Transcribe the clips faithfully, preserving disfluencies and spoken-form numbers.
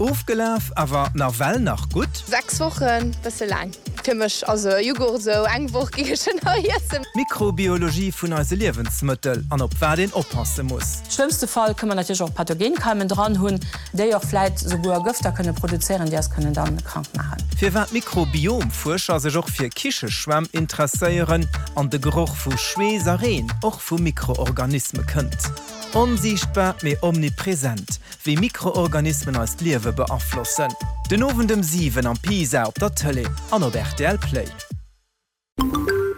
Ofgelaf, awer nawell nach gutt? Sechs Wochen, bësse laang fir mech. Also Jughurt sou eng Woch géing ech schonn nach iessen. D'Mikrobiologie vun eise Liewensmëttel an op wat een oppasse muss. Schlëmmste Fall kënne mer natierlech och Pathogenkeimen dran hunn, déi och vläit souguer Gëfter kënne produzéieren, déi eis kënnen dann krank maachen. Firwat Mikrobiomfuerscher sech och fir Kicheschwämm interesséieren an de Geroch vu Schweess a Reen och vu Mikroorganisme kënnt. Onsiichtbar, mee omnipresent, wéi Mikroorganismen eist Liewe beaflossen. Den Owend ëm siwen am Pisa op der Tëlee an op rtl Play.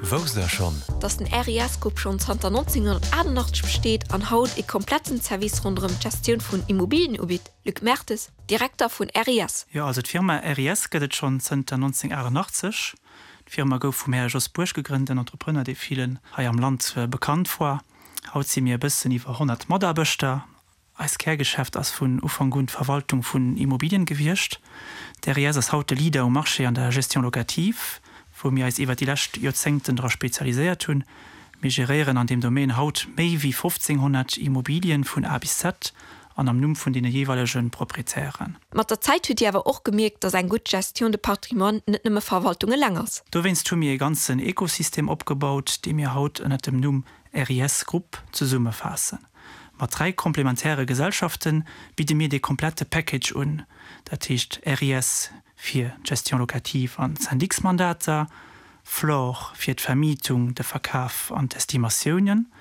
Wousst der schonn? Dass den RIS Group schonn zanter nonzénghonnertaachtenachtzeg besteet an haut e kompletten Service ronderëm d'Gestioun vun Immobilien ubitt? Luc Mertes, Direkter vun R I S. Jo, also d'Firma R I S gëtt et schonn zënter nonzénghonnertaachtennachtzeg. D'Firma gouf vum Här Jos Buerg gegrënnt, en Entrepreneur, dee villen hei am Land bekannt war. Haut si mir e bëssen iwwer honnert Mataarbechter. Eist Kärgeschäft ass vun Ufank un d'Verwaltung vun Immobilien gewiescht. De R I S ass haut de Leader um Marché an der Gestion locative, wou mir eis iwwer déi lescht Joerzéngten dra spezialiséiert hunn. Mir geréieren an deem Domaine haut méi wéi fofzénghonnert Immobilien vun A bis Z an am Numm vun deene jeeweilege Proprietären. Mat der Zäit hutt Dir awer och gemierkt, dass eng gutt Gestion de patrimoine net nëmme Verwaltung eleng ass. Dowéinst hu mir e ganzen Ekosystem opgebaut, dee mir haut ënner dem Numm R I S Group zesummefaassen. Mat dräi komplementäre Gesellschafte bidde mir de komplette Package un, dat heescht R I S fir d'Gestion locative an Syndicsmandater, Flor fir d'Vermietung, de Verkaf an d'Estimatiounen,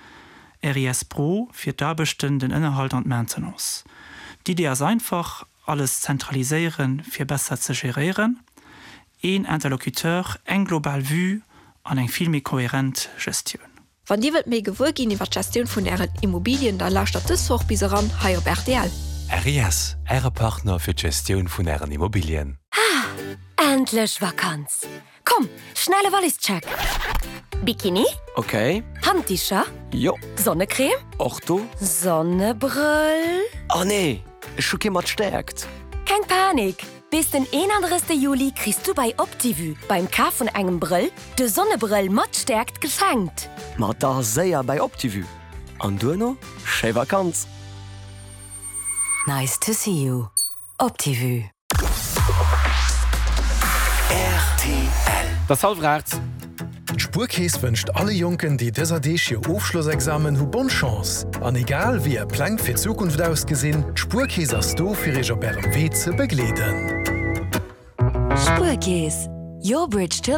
R I S Pro fir d'Aarbechten, den Ënnerhalt an d'Maintenance. D'Idee ass einfach, alles zentraliséieren, fir besser ze geréieren, een Interlocuteur, eng global Vue an eng vill méi kohärent Gestioun. Wann Dir wëllt méi gewuer ginn iwwer d'Gestioun vun Ären Immobilien, da lauschtert dës Woch bis eran hei op R T L. R I S, Äre Partner fir d'Gestioun vun Ären Immobilien. Endlech Vakanz! Komm, schnelle Wallischeck! Bikini? Okay. Handdicher? Jo. Sonnecreme? Och do. Sonnebrëll? Oh nee, ech hu kee mat Stäerkt. Keng Panik! Bis den eenandrëssegste Juli kriss du bei Optivue beim Kaf vun engem Brëll de Sonnebrëll mat Stäerkt geschenkt. Ma da séier bei Optivue. An duerno, schéi Vakanz. Nice to see you. Optivue. R T L. Et ass hallwer aacht. D'Spuerkeess wënscht alle Jonken, déi dëser Deeg hir Ofschlossexamen hu bonne Chance. An egal wéi är Pläng fir d'Zukunft ausgesinn, d'Spuerkeess ass do fir iech op ärem Wee ze begleeden. Spuerkeess. Your bridge to